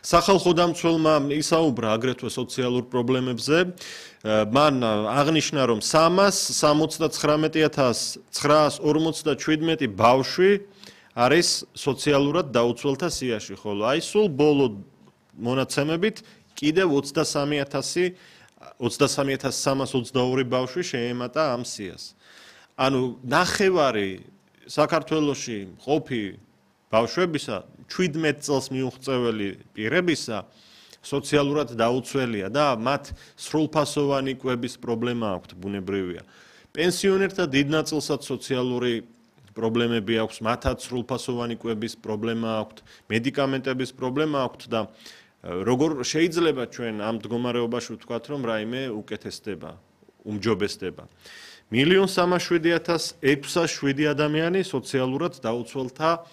სახალხო დამცველმა ისაუბრა აგრეთვე სოციალურ პრობლემებზე. მან აღნიშნა, რომ 379,957 ბავშვი არის სოციალურად დაუცველთა სიაში, ხოლო აი სულ ბოლო მონაცემებით კიდევ 23,322 ბავშვი შეემატა ამ სიას. ანუ ნახევარი საქართველოში მყოფი ბავშვებისა 17 წელს მიუღწეველი პირებისა სოციალურად დაუცველია და მათ სრულფასოვანი კვების პრობლემა აქვთ, ბუნებრივია. პენსიონერთა დიდ ნაწილსაც სოციალური პრობლემები აქვს, მათაც სრულფასოვანი კვების პრობლემა აქვთ, მედიკამენტების პრობლემა აქვთ და როგორ შეიძლება ჩვენ ამ მდგომარეობაში ვთქვათ, რომ რაიმე უკეთესდება, უმჯობესდება. 1,307,607 ადამიანი სოციალურად დაუცველთა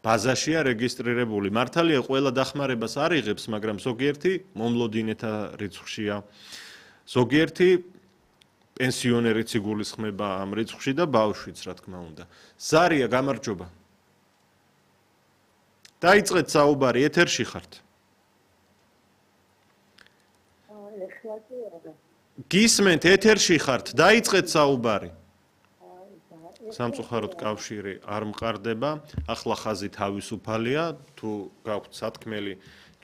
ბაზაშია რეგისტრირებული. მართალია ყველა დახმარებას არ იღებს, მაგრამ ზოგიერთი მომლოდინეთა რიცხვშია. ზოგიერთი პენსიონერიც იგულისხმება ამ რიცხვში და ბავშვიც, რა თქმა უნდა. ზარია, გამარჯობა. დაიწყეთ საუბარი, ეთერში ხართ. გისმენთ, ეთერში ხართ, დაიწყეთ საუბარი. სამწუხაროდ კავშირი არ მყარდება, ახლა ხაზი თავისუფალია, თუ გაქვთ სათქმელი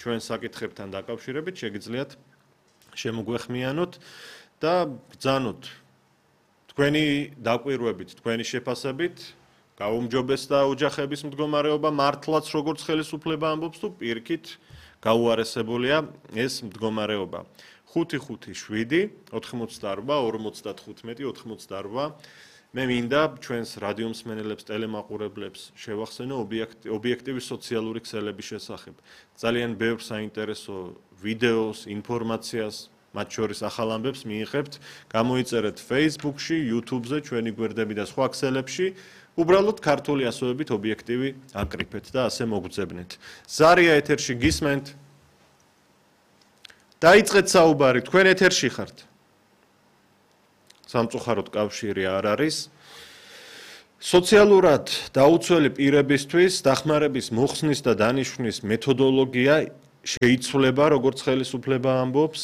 ჩვენ საკითხებთან დაკავშირებით, შეგიძლიათ შემოგვეხმიანოთ და ბრძანოთ თქვენი დაკვირვებით, თქვენი შეფასებით, გაუმჯობესდა ოჯახების მდგომარეობა, მართლაც როგორც ხელისუფლება ამბობს, თუ პირიქით გაუარესებულია ეს მდგომარეობა. 557 88 55 88 მე მინდა ჩვენს რადიო მსმენელებს, ტელემაყურებლებს შევახსენო ობიექტივი სოციალური ქსელების შესახებ. ძალიან ბევრ საინტერესო ვიდეოს, ინფორმაციას, მათ შორის ახალ ამბებს მიიღებთ, გამოიწერეთ Facebook-ში, YouTube-ზე, ჩვენი გვერდები და სხვა ქსელებში. უბრალოდ ქართული ასოებით ობიექტივი აკრიფეთ და ასე მოგძებნეთ. ზარია ეთერში გისმენთ. დაიწყეთ საუბარი, თქვენ ეთერში ხართ. სამწუხაროდ კავშირი არ არის. სოციალურად დაუცველი პირებისთვის დახმარების მოხსნის და დანიშვნის მეთოდოლოგია შეიცვლება, როგორც ხელისუფლება ამბობს.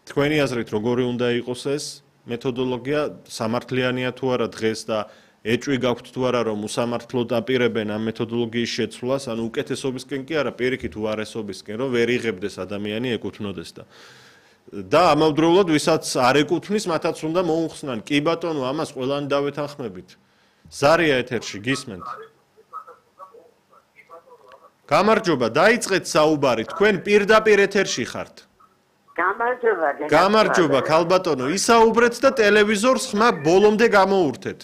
თქვენი აზრით, როგორი უნდა იყოს ეს მეთოდოლოგია, სამართლიანია თუ არა დღეს და ეჭვი გაქვთ თუ არა, რომ უსამართლოდ აპირებენ ამ მეთოდოლოგიის შეცვლას, ანუ უკეთესობისკენ კი არა, პირიქით უარესობისკენ, რომ ვერ იღებდეს ადამიანი ეკუთვნოდეს და ამავდროულად ვისაც არ ეკუთვნის, მათაც უნდა მოუხსნან. კი ბატონო, ამას ყველანი დავეთანხმებით. ზარია ეთერში გისმენთ. გამარჯობა, დაიწყეთ საუბარი, თქვენ პირდაპირ ეთერში ხართ. გამარჯობა, ქალბატონო, ისაუბრეთ და ტელევიზორს ხმა ბოლომდე გამოურთეთ.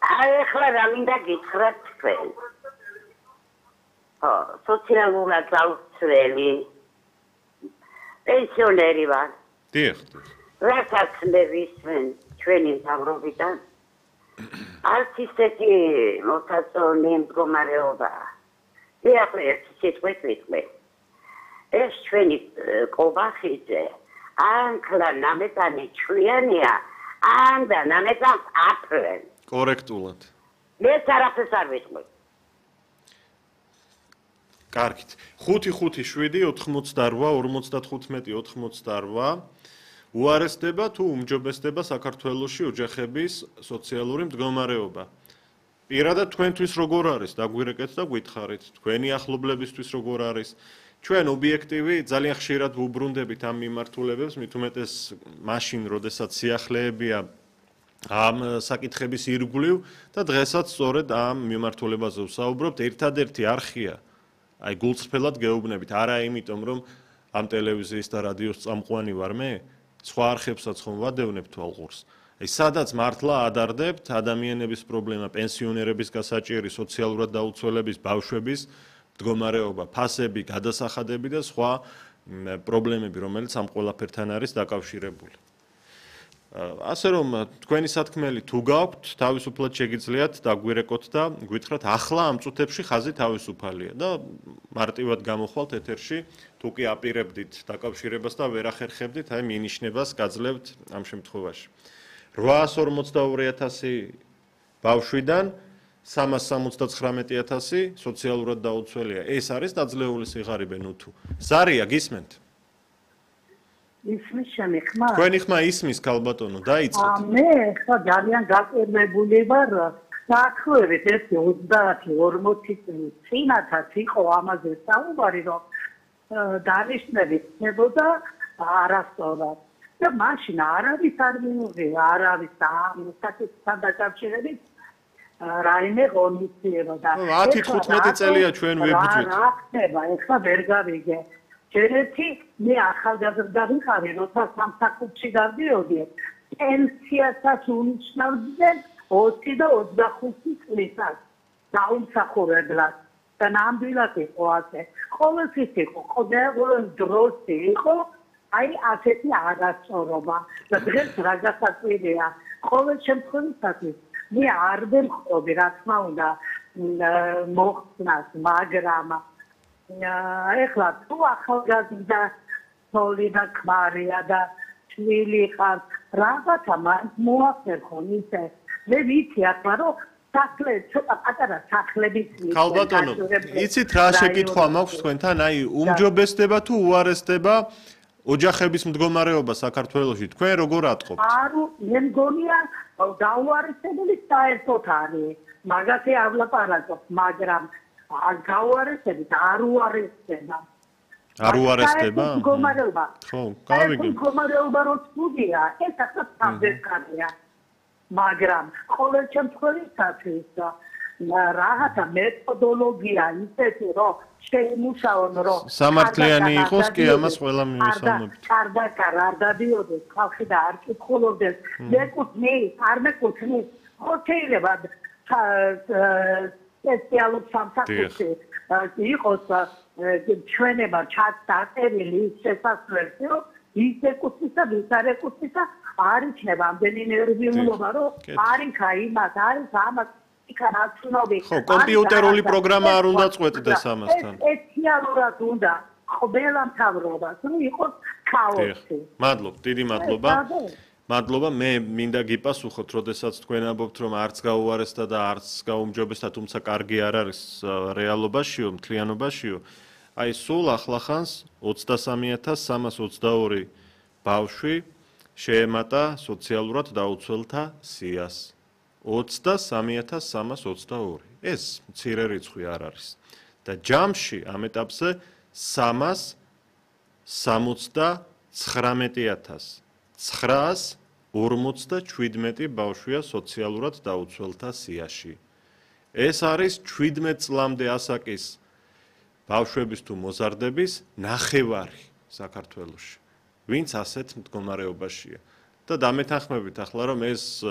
ახლა რა მინდა გითხრათ თქვენ. სოციალურად დაუცველი პენსიონერი ვარ. დიახ. რასაც მე ვისმენ ჩვენი მთავრობიდან, არც ისეთი მოსაწონი მდგომარეობა. ახლა ერთი სიტყვით ვიტყვი. ეს ჩვენი კობახიძე, ანკლა ნამეტანი ჩვიანია, ან და ნამეტანს აფრენ. კორექტულად. ეს არაფერს არ ვიტყვი. კარგით. 557 88 55 88 უარესდება თუ უმჯობესდება საქართველოში ოჯახების სოციალური მდგომარეობა. პირადად თქვენთვის როგორ არის? დაგვირეკეთ და გითხარით. თქვენი ახლობლებისთვის როგორ არის? ჩვენ ობიექტივი ძალიან ხშირად ვუბრუნდებით ამ მიმართულებებს, მით უმეტეს მაშინ, როდესაც სიახლეებია ამ საკითხების ირგვლივ და დღესაც სწორედ ამ მიმართულებაზე ვსაუბრობთ. ერთადერთი არხია, აი გულწრფელად გეუბნებით, არა იმიტომ, რომ ამ ტელევიზიის და რადიოს წამყვანი ვარ მე, სხვა არხებსაც ხომ ვადევნებ თვალყურს. აი სადაც მართლა ადარდებთ ადამიანების პრობლემა, პენსიონერების გასაჭიერი, სოციალურად დაუცველების ბავშვების მდგომარეობა, ფასები, გადასახადები და სხვა პრობლემები, რომელიც ამ ყველაფერთან არის დაკავშირებული. ასე რომ თქვენი სათქმელი თუ გაქვთ, თავისუფლად შეგიძლიათ დაგვირეკოთ და გვითხრათ, ახლა ამ წუთებში ხაზი თავისუფალია და მარტივად გამოხვალთ ეთერში, თუ კი აპირებდით დაკავშირებას და ვერ ახერხებდით, აი მინიშნებას გაძლევთ ამ შემთხვევაში. 842,000 ბავშვიდან 379,000 სოციალურად დაუცველია. ეს არის დაძლეული სიღარიბე ნუ თუ. ზარია გისმენთ? ისმის ჩემი ხმა? თქვენი ხმა ისმის ქალბატონო, დაიწყეთ. მე ხა ძალიან გაკერმებული ვარ. საქმეებით 30-40 წელი წინათაც იყო ამაზე საუბარი, რომ დანიშნები ხდებოდა არასწორად. და მაშინ არავის არ მიუღია, არავის ამ საკითხთან დაკავშირებით რაიმე ღონისძიება. 10-15 წელია ჩვენ ვებრძვით. რა ხდება, ეხლა ვერ გავიგე. ჯერეთი მე ახალგაზრდა ვიყავი, როცა სამსახურში გავდიოდი, პენსიასაც უნიშნავდნენ 20 და 25 წლისას დაუმსახურებლად. და ნამდვილად იყო ასე. ყოველთვის იყო, ყოველ დროს იყო აი ასეთი არასწორობა. და დღეს რა გასაკვირია, ყოველ შემთხვევაში მე არ ვემხრობი, რა თქმა უნდა, მოხსნას, მაგრამ ეხლა თუ ახალგაზრდა თოლი და ქმარია და შვილი ხარ, რაღაცა მაინც მოახერხონ ისე. მე ვიცი ახლა რომ სახლე ცოტა პატარა სახლებით ქალბატონო, იცით რა შეკითხვა მაქვს თქვენთან? აი, უმჯობესდება თუ უარესდება ოჯახების მდგომარეობა საქართველოში? თქვენ როგორ ატყობთ? მე მგონია დაუარესებელი საერთოდ არის. მაგაზე არ ვლაპარაკობ, მაგრამ გაუარესებით არ უარესდება. არ უარესდება? მდგომარეობა. ხო, გავიგე. მდგომარეობა რო ცუდია, ეს ახლა სამძერკარია. მაგრამ ყოველ შემთხვევაში რაღაცა მეთოდოლოგია ისეთი რომ შეიმუშაონ რომ სამართლიანი იყოს კი ამას ყველა მივისალმებით. არ დადიოდეს ხალხი და არ კითხულობდეს მეკუთვნის არ მეკუთვნის ხო შეიძლება სპეციალურ სამსახურში იყოს ჩვენება ჩაწერილი შესაძლებელი რომ ის ეკუთვნის და ვის არ ეკუთვნის და არ იქნება ამდენი ნერვიულობა რომ არ იქა იმას არის ამას ხო, კომპიუტერული პროგრამა არ უნდა წყვეტდეს ამასთან. სპეციალურად უნდა ყველა მთავრობას რომ იყოს ქაოსი. მადლობთ, დიდი მადლობა. მადლობა, მე მინდა გიპასუხოთ, როდესაც თქვენ ამბობთ, რომ არც გაუარესდა და არც გაუმჯობესდა, თუმცა კარგი არ არის რეალობაშიო, მთლიანობაშიო. აი, სულ ახლახანს 23,322 ბავშვი შეემატა სოციალურად დაუცველთა სიას. 23,322. ეს მცირე რიცხვი არ არის. და ჯამში ამ ეტაპზე 379,947 ბავშვია სოციალურად დაუცველთა სიაში. ეს არის 17 წლამდე ასაკის ბავშვების თუ მოზარდების ნახევარი საქართველოში. ვინც ასეთ მდგომარეობაშია. და დამეთანხმებით ახლა რომ ეს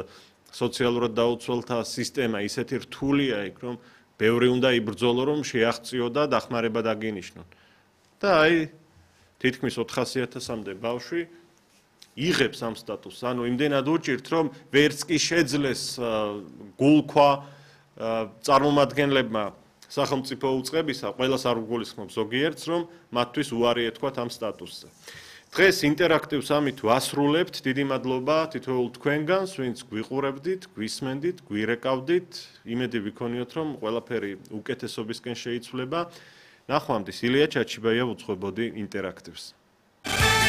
სოციალურად დაუცველთა სისტემა ისეთი რთულია იქ რომ ბევრი უნდა იბრძოლო რომ შეაღწიო და დახმარება დაგინიშნონ. და აი თითქმის 400,000-მდე ბავშვი იღებს ამ სტატუსს. ანუ იმდენად უჭირთ რომ ვერც კი შეძლეს გულქვა წარმომადგენლებმა სახელმწიფო უწყებისა, ყველას არ უგულისხმობ ზოგიერთს რომ მათთვის უარი ეთქვათ ამ სტატუსზე. დღეს ინტერაქტივს ამით ვასრულებთ. დიდი მადლობა თითოეულ თქვენგანს, ვინც გვიყურებდით, გვისმენდით, გვირეკავდით. იმედი ვიქონიოთ, რომ ყველაფერი უკეთესობისკენ შეიცვლება. ნახვამდის, ილია ჩაჩიბაია უძღვებოდი ინტერაქტივს.